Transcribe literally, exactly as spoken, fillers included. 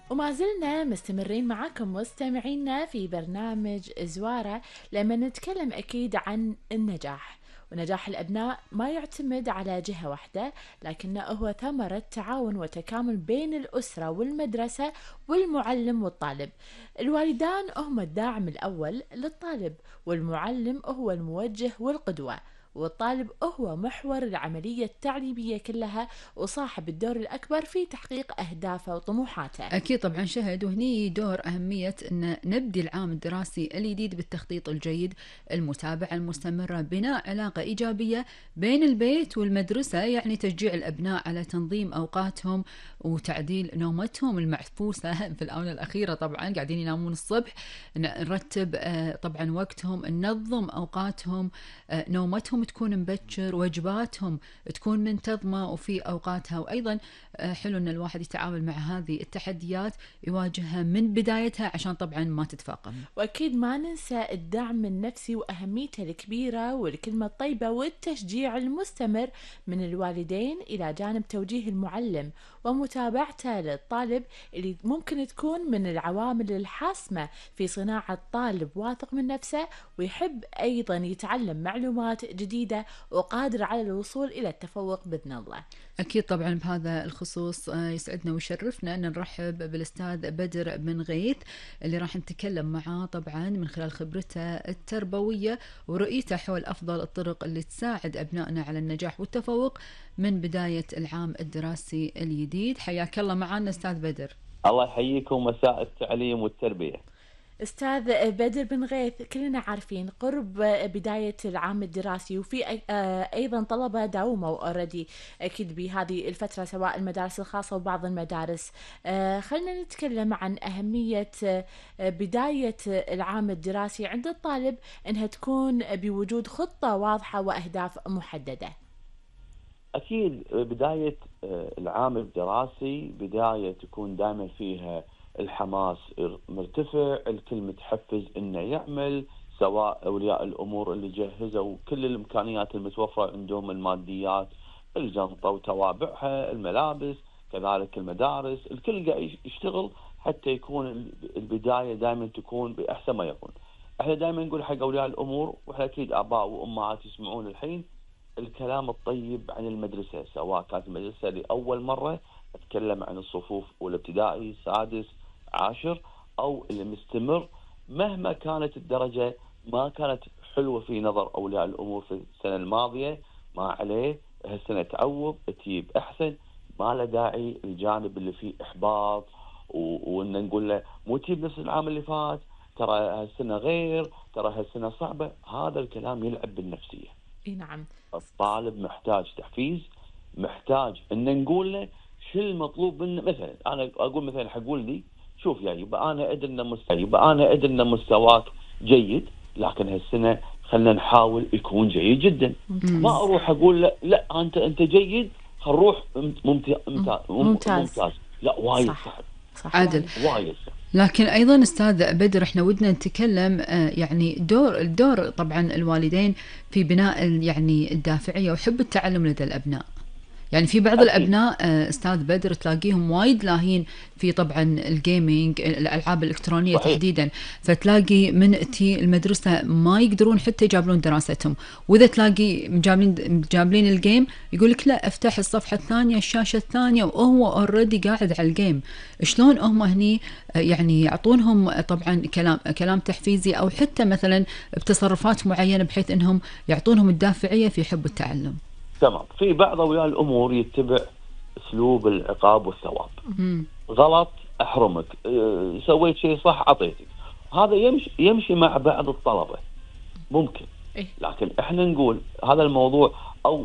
وما زلنا مستمرين معاكم مستمعينا في برنامج زوارة لما نتكلم أكيد عن النجاح. ونجاح الأبناء ما يعتمد على جهة واحدة، لكنه هو ثمرة تعاون وتكامل بين الأسرة والمدرسة والمعلم والطالب. الوالدان هم الداعم الأول للطالب، والمعلم هو الموجه والقدوة، والطالب هو محور العملية التعليمية كلها وصاحب الدور الأكبر في تحقيق أهدافه وطموحاته. أكيد طبعا شهد، وهني دور أهمية أن نبدي العام الدراسي الجديد بالتخطيط الجيد، المتابعة المستمرة، بناء علاقة إيجابية بين البيت والمدرسة، يعني تشجيع الأبناء على تنظيم أوقاتهم وتعديل نومتهم المعفوسة في الآونة الأخيرة. طبعا قاعدين ينامون الصبح، نرتب طبعا وقتهم، ننظم أوقاتهم، نومتهم تكون مبكر، وجباتهم تكون منتظمة وفي أوقاتها. وأيضا حلو أن الواحد يتعامل مع هذه التحديات، يواجهها من بدايتها عشان طبعا ما تتفاقم. وأكيد ما ننسى الدعم النفسي وأهميته الكبيرة والكلمة الطيبة والتشجيع المستمر من الوالدين، إلى جانب توجيه المعلم ومتابعته للطالب، اللي ممكن تكون من العوامل الحاسمة في صناعة طالب واثق من نفسه ويحب أيضا يتعلم معلومات جديدة وقادر على الوصول إلى التفوق بإذن الله. أكيد طبعا بهذا الخصوص يسعدنا ويشرفنا أن نرحب بالأستاذ بدر بن غيث، اللي راح نتكلم معاه طبعا من خلال خبرته التربوية ورؤيته حول أفضل الطرق اللي تساعد أبنائنا على النجاح والتفوق من بداية العام الدراسي الجديد. حياك الله معنا أستاذ بدر. الله يحييكم، مساء التعليم والتربية. أستاذ بدر بن غيث، كلنا عارفين قرب بداية العام الدراسي، وفي أيضا طلبة داوموا أوريدي أكيد بهذه الفترة، سواء المدارس الخاصة وبعض المدارس. خلنا نتكلم عن أهمية بداية العام الدراسي عند الطالب، أنها تكون بوجود خطة واضحة وأهداف محددة. أكيد بداية العام الدراسي بداية تكون دائما فيها الحماس مرتفع، الكل متحفز انه يعمل، سواء اولياء الامور اللي جهزوا كل الامكانيات المتوفره عندهم، الماديات، الجنطه وتوابعها، الملابس، كذلك المدارس، الكل قاعد يشتغل حتى يكون البدايه دائما تكون باحسن ما يكون. احنا دائما نقول حق اولياء الامور، واحنا اكيد اباء وامهات يسمعون الحين، الكلام الطيب عن المدرسه، سواء كانت المدرسه لاول مره اتكلم عن الصفوف والابتدائي سادس عاشر او اللي مستمر، مهما كانت الدرجه ما كانت حلوه في نظر اولياء الامور في السنه الماضيه، ما عليه هالسنه تعوض تجيب احسن، ما له داعي الجانب اللي فيه احباط وان نقول له مو تجيب نفس العام اللي فات، ترى هالسنه غير، ترى هالسنه صعبه. هذا الكلام يلعب بالنفسيه. اي نعم. الطالب محتاج تحفيز، محتاج ان نقول له شو المطلوب منه. مثلا انا اقول مثلا حق ولدي، شوف يا يبقى انا ادري ان مستوى يبقى انا ادري ان مستواك جيد، لكن هالسنه خلينا نحاول يكون جيد جدا. ما اروح اقول لا, لا انت انت جيد، خل نروح ممتاز ممتاز, ممتاز. لا وايد صعب. صح عادل، وايد صعب. لكن ايضا استاذ بدر احنا ودنا نتكلم يعني دور الدور طبعا الوالدين في بناء يعني الدافعيه وحب التعلم لدى الابناء. يعني في بعض أكيد. الأبناء أستاذ بدر تلاقيهم وايد لاهين في طبعا الجيمينج، الألعاب الإلكترونية صحيح. تحديدا، فتلاقي من تي المدرسة ما يقدرون حتى يجابلون دراستهم، وإذا تلاقي مجابلين جابلين الجيم يقولك لا افتح الصفحة الثانية الشاشة الثانية وهو أوريدي قاعد على الجيم. شلون هم هني يعني يعطونهم طبعا كلام كلام تحفيزي، أو حتى مثلا بتصرفات معينة بحيث أنهم يعطونهم الدافعية في حب التعلم؟ تمام. في بعض اولياء الامور يتبع اسلوب العقاب والثواب. مم. غلط احرمك، أه سويت شيء صح اعطيتك. هذا يمشي يمشي مع بعض الطلبه ممكن، لكن احنا نقول هذا الموضوع او